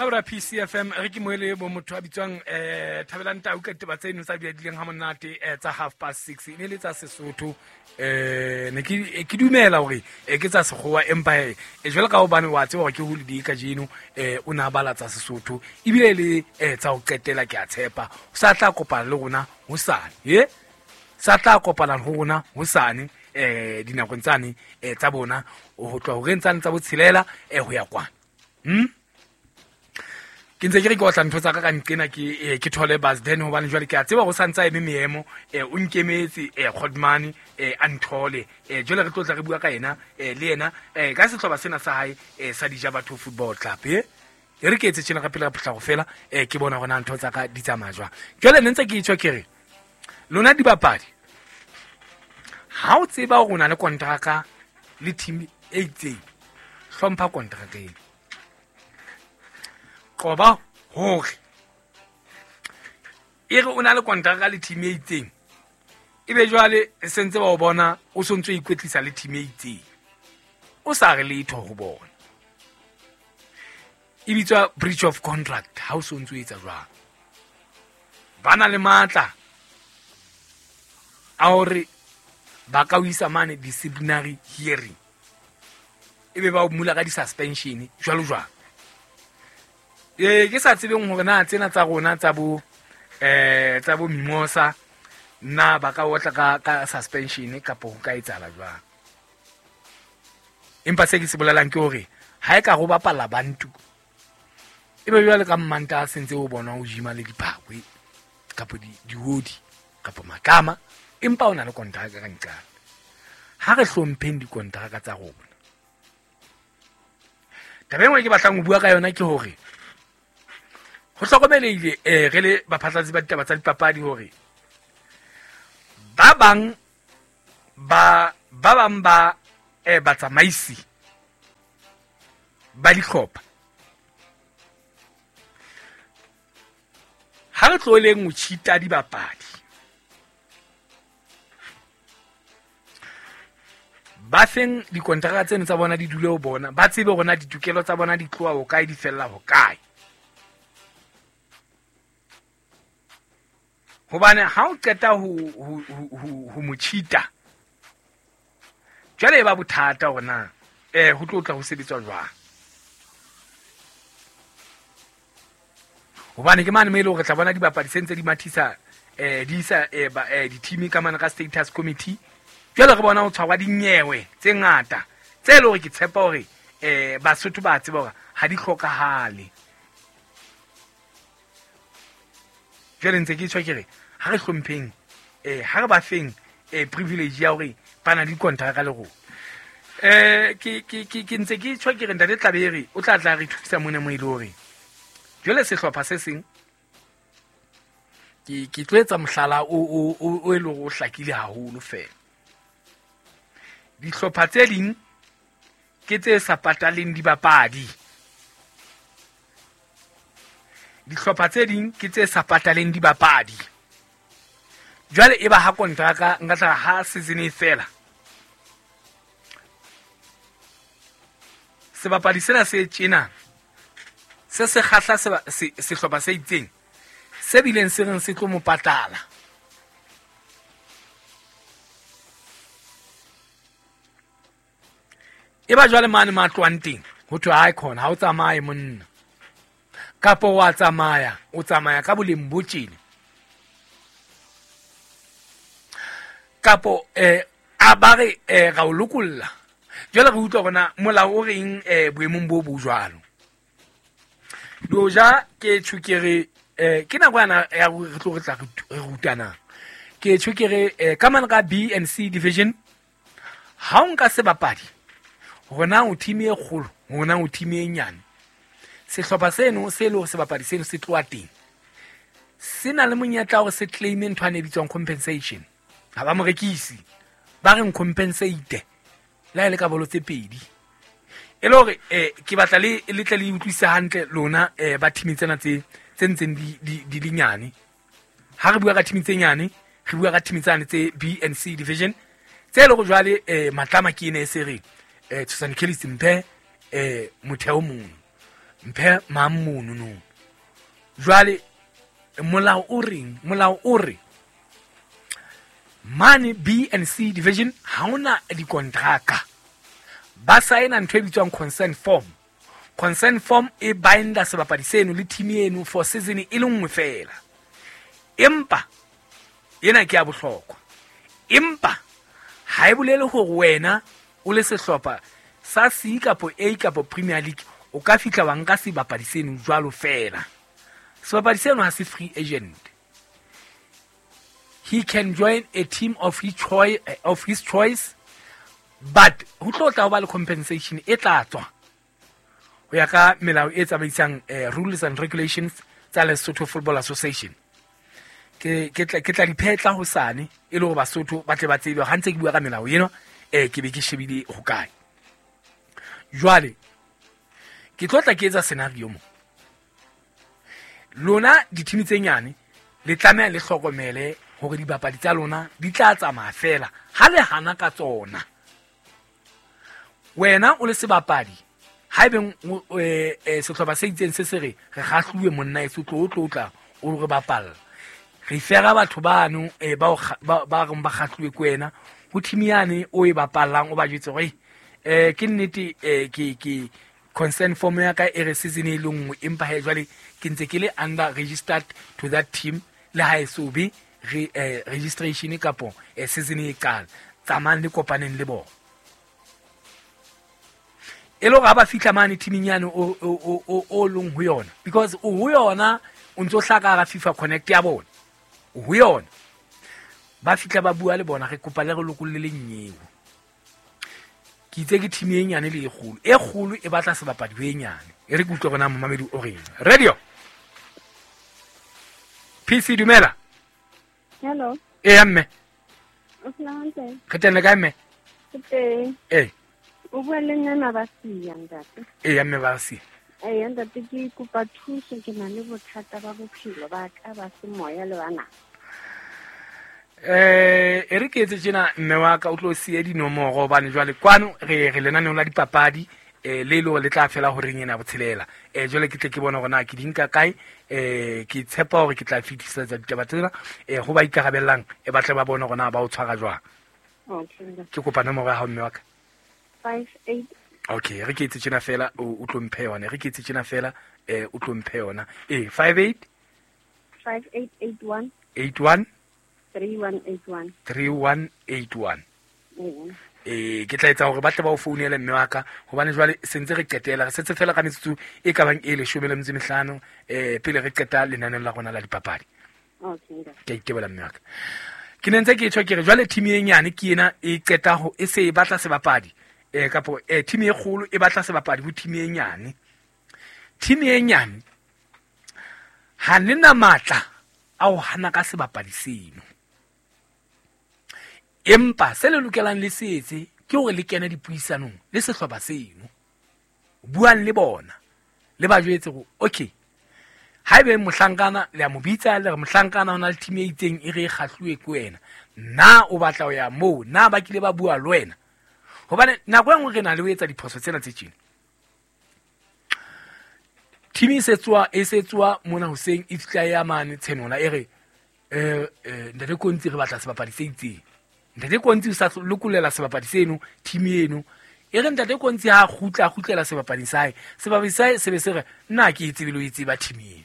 Mabra PCFM re ke moele bo motho a bitswang Thabelang Tau ka ditaba tseno tsa diadileng ha monate tsa 6:30 e ne le tsa Sesotho. Ne ke dumela hore ke tsa Sekgowa, empa jwale ka hobane wa tseba hore ke holiday kajeno, o ne a bala tsa Sesotho ebile le tsa ho qetela. Ke a tshepa o sa tla kopana le rona hosane, ye sa tla kopana ho rona hosane dinakong tsane tsa bona ho tloha horeng tsane tsa botshelela ho ya kwana. Ke ntse ke re ke otla ntho tsa ka ka nqena ke thole bus then, hobane jwale ke a tseba ho santsa eme meemo, o nkemetse Godmane, a nthole, jwale re tlo tla re bua ka yena, le yena, ka sehlopha sena sa hae, sa Dija Batho Football Club. E re ke etse tjena ka pele ka potlako fela, ke bona hore na ntho tsa ka di tsamaya jwang. Jwale ne ntse ke tjho ke re lona dibapadi, ha o tseba hore o na le kontraka le team e itseng, hlompha kontraka eno. Qoba hore e re o na le kontraka le team e itseng, ebe jwale sentse ba o bona o sontso ikwetlisa le team e itseng, o sa re letho ho bona. E bitswa breach of contract ha o sontso etsa jwang. Ba na le matla a hore ba ka o isa mane disciplinary hearing, ebe ba o mula ka di-suspension jwalo jwalo. Ke sa tsebeng hore na tsena tsa rona tsa bo tsa bo Mimosa na ba ka otla ka suspension kapa ho ka etsahala jwang. Empa se ke se bolelang ke hore ha e ka go bapala Bantu, ebe jwale ka mmanta a sentse o bona o jima le diphakwe kapa diodi kapa matlama, empa o na le kontraka ka nqane. Ha re hlompheng dikontraka tsa rona. Taba e nngwe ke batlang ho bua ka yona ke hore ho hlokomelehile, re le baphatlalatsi ba ditaba tsa dipapadi, hore ba bang ba batsamaisi ba dihlopha, ha re tloheleng ho cheat-a dibapadi. Ba feng dikontraka tseno tsa bona di dule ho bona, ba tsebe hore na ditokelo tsa bona di tloha ho kae, di fella ho kae. Hobane ha o qeta ho mo cheat-a, jwale e ba bothata hore na ho tlo tla ho sebetswa jwang. Hobane ke mane mo e leng hore tla bona dibapadi se ntse di mathisa, di isa di-team ka mane ka status committee. Jwale re bona ho tshwarwa dinyewe tse ngata tse leng hore ke tshepa hore Basotho ba tseba hore ha di hlokahale. Jwale ntse ke tjho ke re ha re hlompheng, ha re ba feng privilege ya hore ba na le dikontraka le rona. Ke ntse ke tjho ke re ntate Tlabere o tla tla re thusa mona mo e le hore jwale sehlopha se seng ke tlo etsa mohlala o e leng hore o hlakile haholo fela. Dihlopha tse ding ke tse sa pataleng dibapadi. Dihlopha tse ding ke tse sa pataleng dibapadi. Jwale e ba ha kontraka nka tla ha season e fela, sebapadi sena se tjena se se kgahla sehlopha se itseng se bileng se reng se tlo mo patala. E ba jwale mane ma tlohang teng ho thwe hae khona ha o tsamaye monna, kapo wa tsamaya, o tsamaya ka boleng bo tjena, kapo a ba re ra o lokolla. Jwale re utlwa hore na molao o reng boemong bo bo jwalo. Doja ke tjho ke re ke nako yana ya re tlo re tla re rutanang. Ke tjho ke re ka mane ka B and C division, ha o nka sebapadi hore na o team e kgolo, hore na o team e nyane, sehlopha seno se le hore sebapadi seno se tloha teng, se na le monyetla hore se claim ntho e bitswang compensation. Ha ba mo rekisi, ba reng compensate le ha e le ka bolo tse pedi. E le hore ke batla le tle le utlwisise hantle lona ba team tsena tse ntseng di le nyane. Ha re bua ka team tse nyane, re bua ka team tsane tse B and C division tse le go jwale matlama ke ene e se re Tshosane Kelly Simphe motheo mono. Mphe mang mono no. Jwale molao o reng? Molao o re mane B and C division ha ona dikontraka. Ba saena ntho e bitswang consent form. Consent form e binda sebapadi seno le team eno for season e le nngwe fela. Empa ena ke ya bohlokwa. Empa ha e bolele hore wena o le sehlopha sa C kapo A kapo Premier League o ka fihla wa nka sebapadi seno jwalo fela. Sebapadi seno ha se free agent. He can join a team of his choice, of his choice, but ho tlo tla ho ba le compensation e tla tswa ho ya ka melao e tsamaisang rules and regulations tsa Lesotho Football Association. Ke tla di phetla hosane e le hore Basotho ba tle ba tsebe ha ntse ke bua ka melao eno, ke be ke shebile hokae. Jwale ke tlo tla ke etsa scenario mo. Lona dithimi tse nyane le tlameha le hlokomele hore dibapadi tsa lona di tla tsamaya fela ha le hana ka tsona. Wena o le sebapadi, haebeng sehlopha se itseng se se re re kgahluwe monna eso tlo tlo tla o re bapalla. Re fera batho bano ba reng ba kgahluwe ke wena ho team yane o e bapallang, o ba jwetse hore ke nnete, ke consent form ya ka e re season e le nngwe, empa he jwale ke ntse ke le under registered to that team le ha e so be registration kapo season e qala. Tsamayang le kopaneng le bona. E le hore ha ba fihla mane teaming yane o leng ho yona, because o ho yona o ntso hlaka hara FIFA Connect ya bona, o ho yona. Ba fihla ba bua le bona, re kopa le re lokolle le nnyeo. Ke itse ke team e nyane le e kgolo, e kgolo e batla sebapadi ho e nyane. E re ke utlwe hore na momamedi o reng. Radio PC, dumela. Hello. Eya mme. O phela hantle? Re teng le kae mme? Ke teng. Ee. O bua le nna Mabasia ntate. Eya mme Basia. Eya ntate, ke kopa thuso, ke na le bothata ba bophelo ba ka ba semoya le bana. E re ke etse tjena mme wa ka o tlo siya dinomoro hobane jwale kwano re lenaneong la dipapadi, le le hore le tla fela horeng ena botshelela. Jwale ke tle ke bone hore na ke di nka kae, ke tshepa hore ke tla fetisetsa ditaba tsena, ho ba ikarabellang, ba tle ba bone hore na ba o tshwara jwang. Okay. Ke kopa nomoro ya hao mme wa ka. 58. Okay, re ke etse tjena fela o tlo mphe yona. Re ke etse tjena fela, o tlo mphe yona. 58 5881 81 3181 3181. Ke tla etsa hore ba tle ba o founele mme wa ka, hobane jwale se ntse re qetela, re setse fela ka metsotso e ka bang e 15, pele re qeta lenaneo la rona la dipapadi. Okay. Ke a itebola mme wa ka. Ke ne ntse ke tjho ke re jwale team e nyane ke ena e qeta ho e se e batla sebapadi, kapo team e kgolo e batla sebapadi ho team e nyane. Team e nyane ha le na matla a ho hana ka sebapadi seno. Empa se le lokelang le se etse ke hore le kene dipuisanong le sehlopha seno. Buang le bona, le ba jwetse hore okay, haebe mohlankana le a mo bitsa, le re mohlankana o na le team e itseng e re e kgahluwe ke wena, na o batla ho ya moo, na ba kile ba bua le wena? Hobane nako e nngwe re na le ho etsa diphoso tsena tse tjena. Team e se tswa mona hoseng e fihla ya mane Tshenola e re, ntate Kontsi re batla sebapadi se itseng. Ntate Kontsi o sa lokollela sebapadi seno team eno. E re ntate Kontsi ha kgutla, a kgutlela sebapading sa hae. Sebapadi sa hae se be se re, nna ke e tsebe le ho e tseba team eno.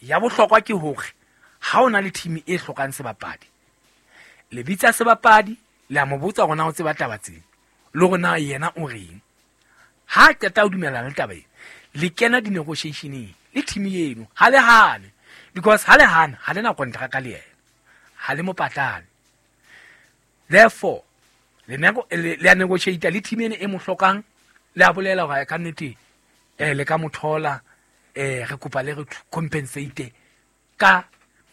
Ya bohlokwa ke hore ha o na le team e hlokang sebapadi, le bitsa sebapadi, le a mo botsa hore na o tseba taba tsena, le hore na yena o reng. Ha qeta ho dumellana le taba ena, le kena di-negotiationeng le team eno, ha le hane, because ha le hana, ha le na kontraka le yena, ha le mo patale. Therefore, le a negotiate le team ena e mo hlokang, le a bolela hore ka nnete, le ka mo thola, re kopa le re compensate ka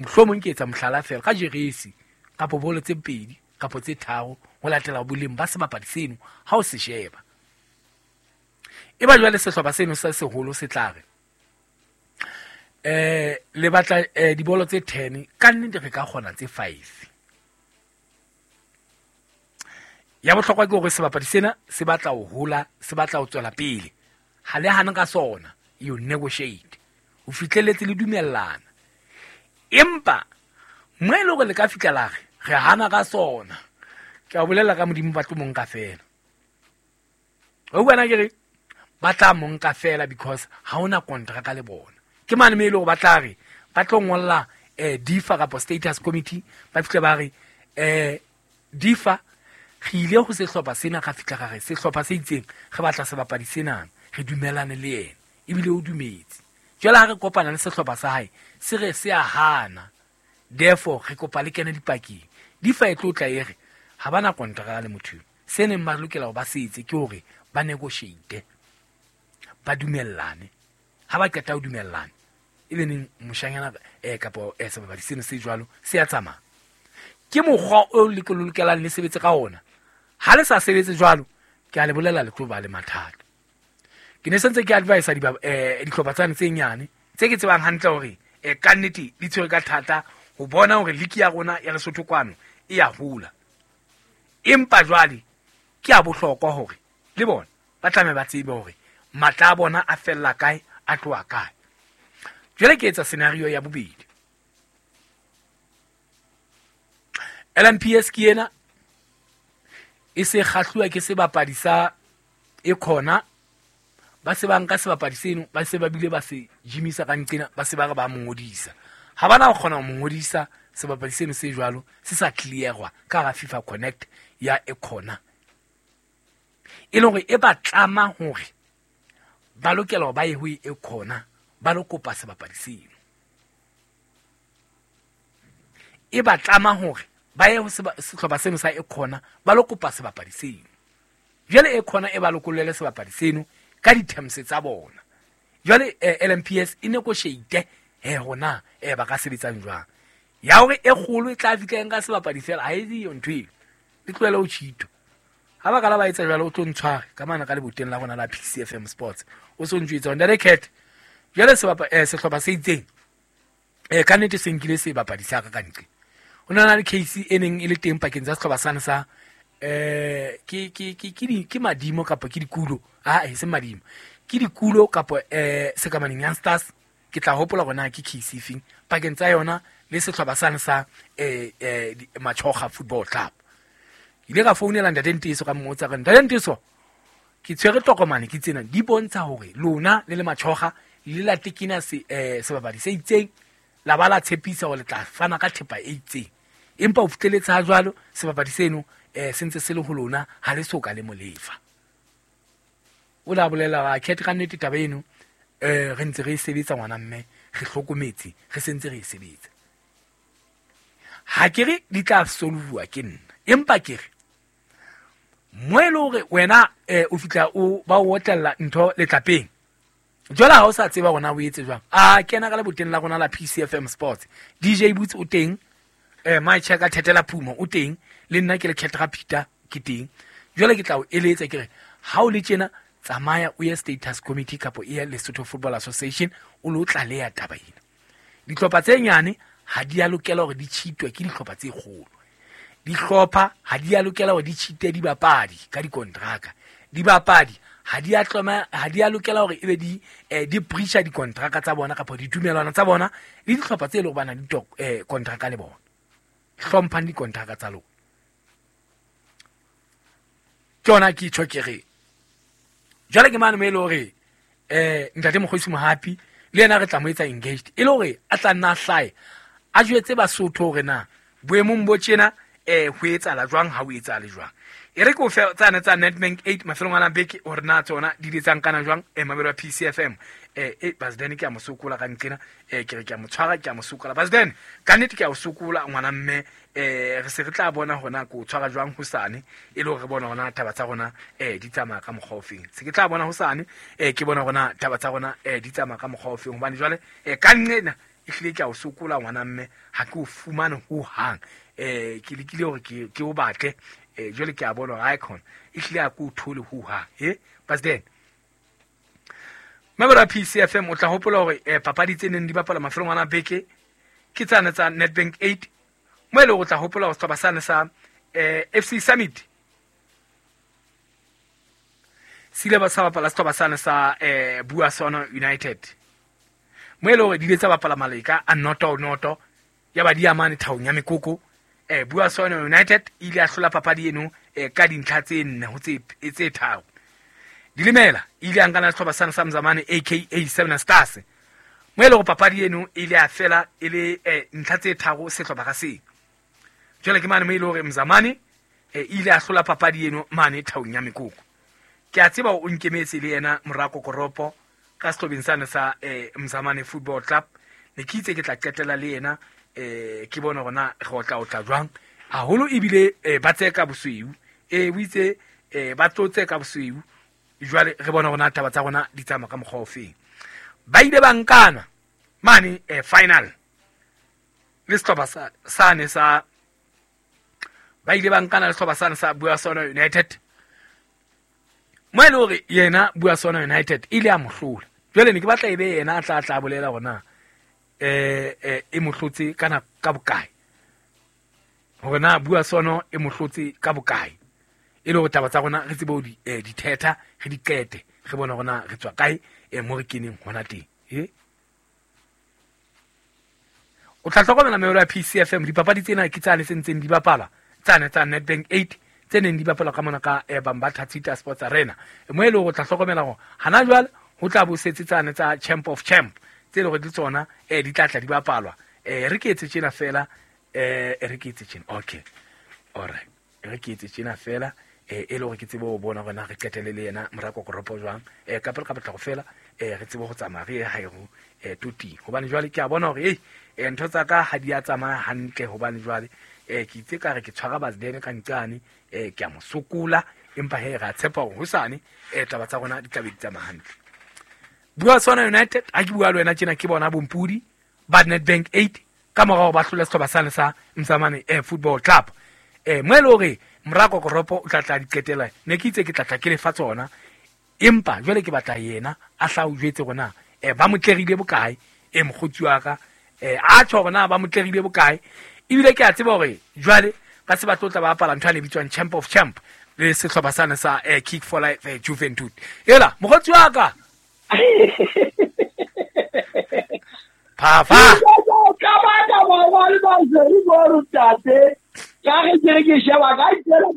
mohlomong ke etsa mohlala fela ka jeresi kapo bolo tse 2 kapo tse 3 ho latela boleng ba sebapadi seno ha o se sheba. E ba jwale sehlopha seno se seholo se tla re, le batla dibolo tse 10, ka nnete re ka kgona tse 5. Ya bohlokwa ke hore sebapadi sena se batla ho hola, se batla ho tswela pele. Ha le hane ka sona, You negotiate. O fihlelletse le dumellana. Empa mo e le hore le ka fihla la re re hana ka sona. Ke a bolela ka Modimo ba tlo mo nka fela. O bona ke re ba tla mo nka fela because ha ona kontraka le bona. Ke mane me e le hore ba tla re ba tlo ngolla DIFA kapa status committee ba fihle ba re DIFA re ile ho sehlopha sena ka fihla ka re sehlopha se itseng re batla sebapadi sena re dumelane le yena ebile o dumetse. Jwale ha re kopana le sehlopha sa hae se re se a hana, therefore re kopa le kene dipakeng. DIFA e tlo tla e re ha bana kontraka le motho eo. Se neng ba lokela ho ba se etse ke hore ba negotiate, ba dumellane. Ha ba qeta ho dumellana ebe neng moshanyana kapa sebapadi seno se jwalo se a tsamaya. Ke mokgwa o le lokelang le sebetse ka ona. Ha le sa sebetse jwalo, ke a le bolela le tlo ba le mathata. Ke ne sentse ke advise dihlopha tsane tse nyane tse ke tsebang hantle hore ka nnete di tshwere ka thata ho bona hore league ya rona ya Lesotho kwano e ya hola. Empa jwale ke a bohlokwa hore le bona ba tlameha ba tsebe hore matla a bona a fella kae, a tloha kae. Jwale ke etsa scenario ya bobedi. LMPS ke ena e se kgahluwa ke sebapadi sa e khona, ba se ba nka sebapadi seno ba se ba bile ba se jimisa ka nqena, ba se ba re ba mo ngodisa. Ha bana ho kgona ho mo ngodisa sebapadi seno se jwalo se sa clearwa ka hara FIFA Connect ya e khona, e leng hore e ba tlama hore ba lokela hore ba ye ho e khona ba lo kopa sebapadi seno. E ba tlama hore ba ye ho sehlopha seno sa e khona ba lo kopa sebapadi seno. Jwale e khona e ba lokollele sebapadi seno ka di-terms tsa bona. Jwale LMPS e negotiate hona ba ka sebetsang jwang. Ya hore e kgolo e tla fihla nka sebapadi fela ha e diyo ntho eo. Le tlohele ho cheat. Ha ba ka la ba etsa jwalo o tlo ntshware ka mana ka leboteng la rona la PCFM Sports. O so ntjwetsa hore ntate Cat jwale sehlopha se itseng ka nnete se nkile sebapadi sa ka ntle. Ho na le case e neng e le teng pakeng tsa sehlopha sane sa ke madimo kapa ke dikulo, e seng madimo, ke dikulo kapa Sekamaneng Young Stars. Ke tla hopola hore na ke case efeng pakeng tsa yona le sehlopha sane sa Machoga Football Club. Ke ile ka founela ntate Nteso ka mmotsa ka ntate Nteso ke tshwere tokomane ke tsena di bontsha hore lona le le Machoga le la tekena sebapadi se itseng, la ba la tshepisa hore le tla fana ka thepa e itseng, empa o fihleletse ha jwalo sebapadi seno se ntse se le ho lona ha le soka le molefa. O la bolela ra Cat ka nnete taba eno re ntse re e sebetsa ngwana mme re hlokometse re sentse re e sebetsa. Ha ke re di tla solvuwa ke nna, empa ke re mo e le hore wena o fihla o ba o otlella ntho letlapeng jwale ha o sa tseba hore na o etse jwang, a kena ka leboteng la rona la PCFM Sports. DJ Boots o teng, my checker Thetela Phumo o teng, le nna ke le Cat Peter ke teng. Jwale ke tla o eletsa ke re ha o le tjena tsamaya o ye status committee kapa e ya Lesotho Football Association o lo tlaleha taba ena. Dihlopha tse nyane ha di a lokela hore di cheatwe ke dihlopha tse kgolo. Dihlopha ha di a lokela hore di cheate dibapadi ka dikontraka. Dibapadi ha di a tloma, ha di a lokela hore ebe di di breacha dikontraka tsa bona kapa ditumelwana tsa bona le dihlopha tse leng hore ba na le kontraka le bona. Hlomphang dikontraka tsa lona. Ke yona ke tjho ke re jwale ke mane mo e le hore ntate Mokgosi Mohapi le yena re tla mo etsa engaged e le hore a tla nna a hlahe a jwetse Basotho hore na boemong bo tjena ho etsahala jwang, ha ho etsahale jwang. E re ke o fe tsane tsa Nedbank 8 mafelong a beke hore na tsona di letsang kana jwang mabelo a PCFM. Basden ke a mo sokola ka nqena, ke re ke a mo tshwara, ke a mo sokola Basden ka nnete ke a o sokola ngwana mme, re se re tla bona hona ko tshwara jwang hosane e le hore re bona hona taba tsa rona di tsamaya ka mokgwa ofeng. Se ke tla bona hosane ke bona hona taba tsa rona di tsamaya ka mokgwa ofeng, hobane jwale ka nqena ehlile ke a o sokola ngwana mme, ha ke o fumane ho hang. Ke lekile hore ke o batle, jwale ke a bona hore icon ehlile ha ke o thole ho hang. Basden Mabelo a PCFM o tla hopola hore papadi tse neng di bapala mafelong ana beke ke tsane tsa Nedbank 8 mo e leng hore o tla hopola hore sehlopha sane sa FC Summit Se ile ba sa bapala sehlopha sane sa Buasono United. Mo e le hore di ile tsa bapala maleka a 0-0 ya ba di amane thaong ya mekoko. Buasono United e ile ya hlola papadi eno ka dintlha tse 4 ho tse 3. Dilemela e ile ya nkana le sehlopha sane sa Mzamane aka Seven Stars. Mo e le hore papadi eno e ile ya fela e le ntlha tse 3 sehlopha ka seng. Jwale ke mane mo e le hore Mzamane e ile ya hlola papadi eno mane thaong ya mekoko. Ke a tseba o nkemetse le yena Morako Koropo ka sehlobeng sane sa Mzamane Football Club. Ne ke itse ke tla qetela le yena ke bone hore na re otla jwang. Haholo ebile ba tseka bosweu. O itse ba tlotse ka bosweu. Jwale re bone hore na taba tsa rona di tsamaya ka mokgwa o feng. Ba ile ba nkana mane final le sehlopha sane sa ba ile ba nkana le sehlopha sane sa Buasono United. Mo e le hore yena Buasono United e ile a mo hlola. Jwale ne ke batla ebe yena a tla bolela hore na e mo hlotse kana ka bokae. Hore na Buasono e mo hlotse ka bokae. E le hore taba tsa rona re tsebe ho di dithetha, re di qete, re bone hore na re tswa kae mo re keneng hona teng. O tla hlokomela meolo ya PCFM dipapadi tsena ke tsane tse ntseng di bapala tsane tsa Nedbank 8 tse neng di bapalwa ka mona ka Bambatha Cheetah Sports Arena. Mo e le hore o tla hlokomela hore hana jwale ho tla bo setse tsane tsa Champ of Champ tse le hore di tsona di tla tla di bapalwa. Re ke etse tjena fela re ke etse tjena. Okay. All right. Re ke etse tjena fela e le hore ke tsebe ho bona hore na re qetele le yena Morako Koropo jwang. Ka pele ka potlako fela re tsebe ho tsamaya re ye hae ho toting. Hobane jwale ke a bona hore ntho tsa ka ha di a tsamaya hantle hobane jwale ke itse ka re ke tshwara Basdene ka nqane ke a mo sokola empa he ra tshepa hore hosane taba tsa rona di tla be di tsamaya hantle. Buasono United ha ke bua le wena tjena ke bona bompudi ba Nedbank 8 ka morao ba hlola sehlopha sane sa Mzamane Football Club. Mo e le hore Morako Koropo o tla tla di qetela ne ke itse ke tla tla ke lefa tsona empa jwale ke batla yena a hla o jwetse hore na ba mo tlerile bokae mokgotsi wa ka a tjho hore na ba mo tlerile bokae. Ebile ke a tseba hore jwale ba se ba tlo tla ba bapala ntho e bitswang Champ of Champ le sehlopha sane sa Kick for Life Juventud. Ela mokgotsi wa ka phafa ka ba ka ba ba le ba zeri go rutate ka re ke sheba ka tsela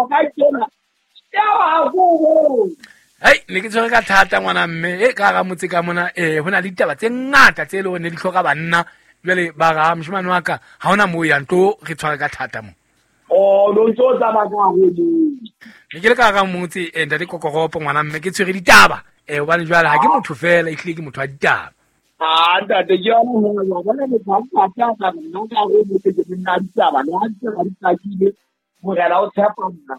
ka tsela ya ba go. Hei ne ke tshwere ka thata ngwana mme ka ga motse ka mona ho na le ditaba tse ngata tse le hore ne di hloka banna. Jwale ba ga moshemane wa ka ha hona moo yang tlo re tshware ka thata mo. Oh lo ntso tsamaya ka go ne ke le ka ga motse ntate Kokoropo ngwana mme ke tshwere ditaba hobane jwale ha ke motho fela ehlile ke motho wa ditaba. Ah ntate ke yona ho ya bona le ba ka ka nna ka go motse ke nna ditaba le ha ke di tsakile morena o tshepa nna.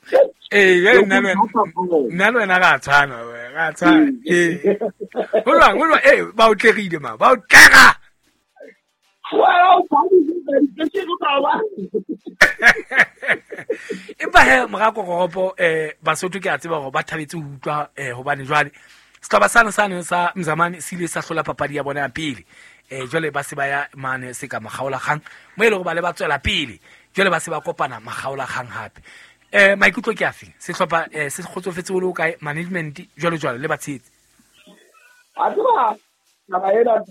Nna le wena ga tshwana ga tshwana. Ho lwa ba o tlegile ma ba o tlega. Empa he Morako Koropo Basotho ke a tseba hore ba thabetse ho utlwa hobane jwale sehlopha sane sane sa Mzamane se ile sa hlola papadi ya bona ya pele. Jwale ba se ba ya mane se ka makgaolakgang mo e le hore ba le ba tswela pele. Jwale ba se ba kopana makgaolakgang hape. Maikutlo ke afe? Sehlopha se kgotsofetse ho le hokae management jwalo jwalo le batshehetsi? A tseba taba ena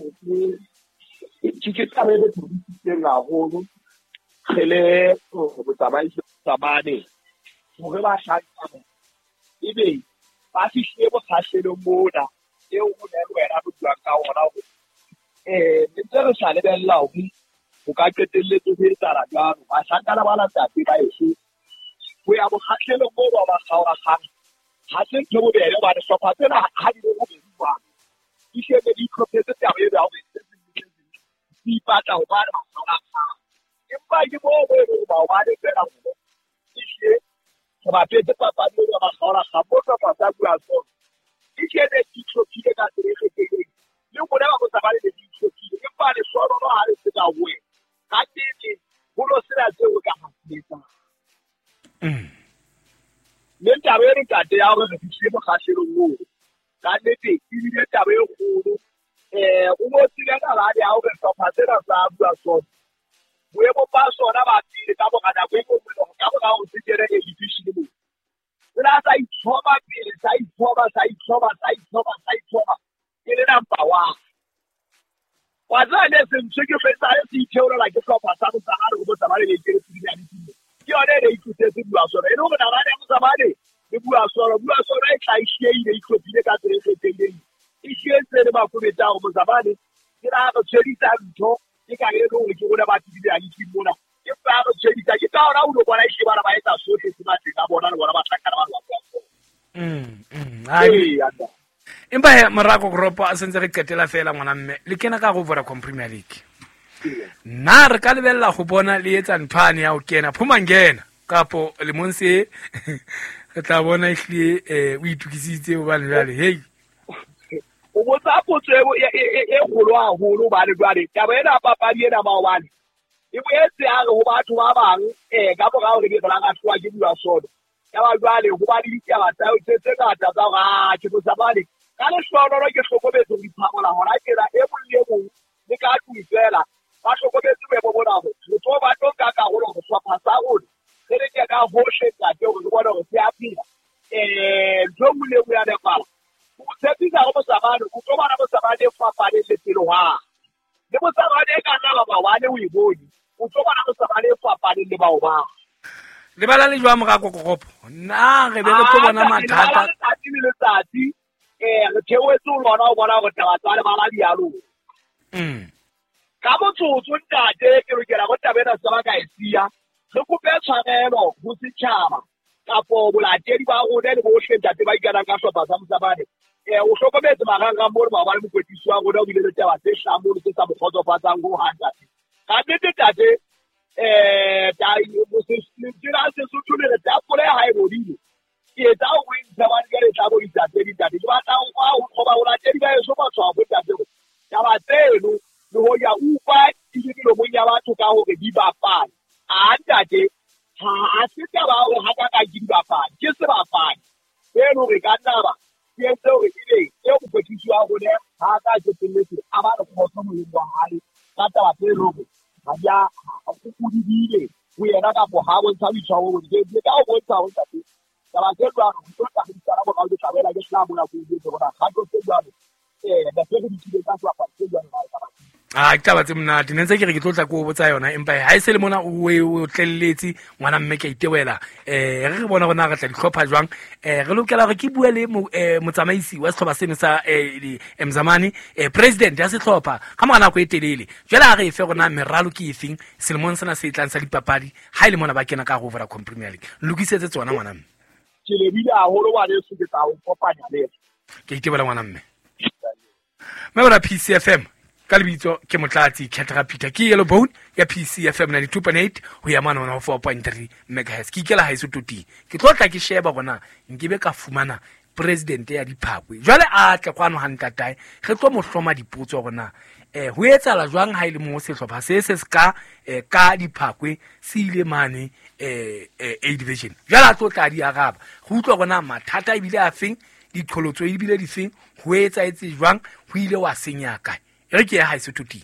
ke taba e thabisitseng haholo re le botsamaisi Mzamane hore ba hlankana ebe ba fihlile bokgahlelong mona eo ho ne le wena re buang ka ona hore ne ntse re sa lebella hore ho ka qetelletse ho etsahala jwalo. Bahlankana ba ntate ba eso ho ya bokgahlelong moo ba ba kgaorakgang ha se ntho bobebe hobane hlopha tsena ha di le bobedi jwalo di shebe di itlhophetse taba eo ya hore di ipatla hobane ba kgaorakgang. Empa ke moo bo e leng maobane fela hore ehlile re bapetse papadi eo ya ba kgaorakgang mo hlopha sa Buasono e shebe di itlhophile ka tsela e kgethehileng le rona ba Mozamane ne di itlhophile empa lehlohonolo ha le se ka ho wena ka nnete ho no sena seo o ka hasetsang. Mme taba eno ntate ya hore re fihlile mokgahlelong oo ka nnete ebile taba e kgolo. O bo tsile nalane ya hore hlopha sena sa Buasono boemo ba sona ba pele ka mora nako e nngwe ka mora hore se kene A division moo Se la sa itlhoma pele, sa itlhoma, sa itlhoma, sa itlhoma, sa itlhoma. Ke le number one. Wa tseba ne se ntse ke fetsa le se itheolela ke hlopha sa Mozamane go Mozamane le ikele tsebile ya ditimo. Ke yone e ne e tlosetse Buasolo. E le hore nalane ya Mozamane le Buasolo, Buasolo e tla e shieile, e itlhophile ka tsela e kgethehileng. E shietse le Makobetsa hore Mozamane ke la re tshwedisa ntho ke ka e le hore ke rona ba tsebile ya ditimo mona. Ke ba re tshwedisa, ke ka hona o lo bona e shebana ba etsa sohle se matleng a bona le bona ba tlakana ba lwa. Ee, empa he morako goropo a sentse re qetela fela ngwana mme le kena ka go Vodacom Premier League. Nna re ka lebella go bona le etsa nthwane ya go kena phumangena kapo lemong se re tla bona ehlile o itukisitse hobane jwale hei. O botsa potso e kgolo haholo hobane jwale taba ena papadi ena maobane e boetse ya re ho batho ba bang ka mora hore be re la lahluwa ke Buasolo. Ya ba jwale ho ba le ditaba tsa tse ngata tsa hore a ke Mozamane. Ka lehlohonolo ke hlokometse ho iphamola hona tjena e mong le mong le ka tlung feela ba hlokometse boemo bona hore re tlo ba tlo nka karolo ho hlopha sa rona re leke ka hohle ntate hore re bone hore se a phela. Ntho e nngwe le e nngwe ya nepala. O tshepisa hore Mozamane o tlo bona Mozamane e fapaneng le pele hwane. Le Mozamane e ka nna ba maobane o e bone. O tlo bona Mozamane e fapaneng le maobane. Lebala le jwang morako koropo? Na re be re tlo bona mathata. Letsatsi le letsatsi re theohetse ho lona ho bona hore taba tsa lebala di a loka. Ka motsotso ntate ke lokela go taba ena se ba ka e siya. Re kope tshwarelo ho setjhaba kapo bolatedi ba rona le bohle ntate ba ikanang ka hlopha sa Mozamane. O hlokometse marangrang mono maobane mokwetlisi wa rona o bile le taba tse hlahang mono tse sa mo kgotsofatsang ho hang ntate. Ka nnete ntate lentswe la Sesotho le re tapole ha e bodile. Ke etsa ho ntsha bane jwale e tla bo isa tse ding ntate. Ke batla ho qoba bolatedi ba heso matshwafo ntate hore taba tseno le hoja utlwa di le melomong ya batho ka hore di bapale. A ntate ha se taba ya hore hakakang ke dibapadi, ke sebapadi seno re ka nna ba se entse hore ebe eo mokwetlisi wa rona ha a ka qetelletse a ba le kgotso moyeng wa hae ka taba tse leng hore ha di a o di buile ho yena kapo ha bontsha boitshwaro bo botle. Ke ka ho bontsha hore ntate taba tse jwalo re tlo tla re di sala morao, ke tla boela ke hlaha mona ke o jwetse hore na kgato tse jwalo ne se re di tlile ka sebapadi se jwalo na taba. A ke taba tse monate ne ntse ke re ke tlo tla ko botsa yona empa ha e se le mona o o tlelletse ngwana mme ke a itewela. Re bona hore na re tla di hlopha jwang. Re lokela hore ke bue le motsamaisi wa sehlopha seno sa Mzamane, president ya sehlopha ka mora nako e telele. Jwale ha re e fe rona meralo ke efeng selemong sena se tlang sa dipapadi ha e le mona ba kena ka ho Vodacom Premier League. Lokisetse tsona ngwana mme. Ke lebile haholo ngwaneso, ke tla o kopanya le yena. Ke itebela ngwana mme. Mme bona PCFM ka lebitso ke Motlatsi Khetra Peter ke Yellow Bone ya PCFM 92.8 ho ya mane hona ho 4.3 megahertz. Ke ikela haeso toting. Ke tlo tla ke sheba hore na nkebe ka fumana president ya Diphakwe. Jwale a tle kwano ha ntatae re tlo mo hloma dipotso hore na ho etsahala jwang ha e le mo sehlopha se se ska ka Diphakwe se ile mane A division. Jwale a tlo tla di araba. Re utlwa hore na mathata ebile a feng, diqholotso ebile di feng, ho etsahetse jwang, ho ile wa senya kae. Re ke ya haeso toting.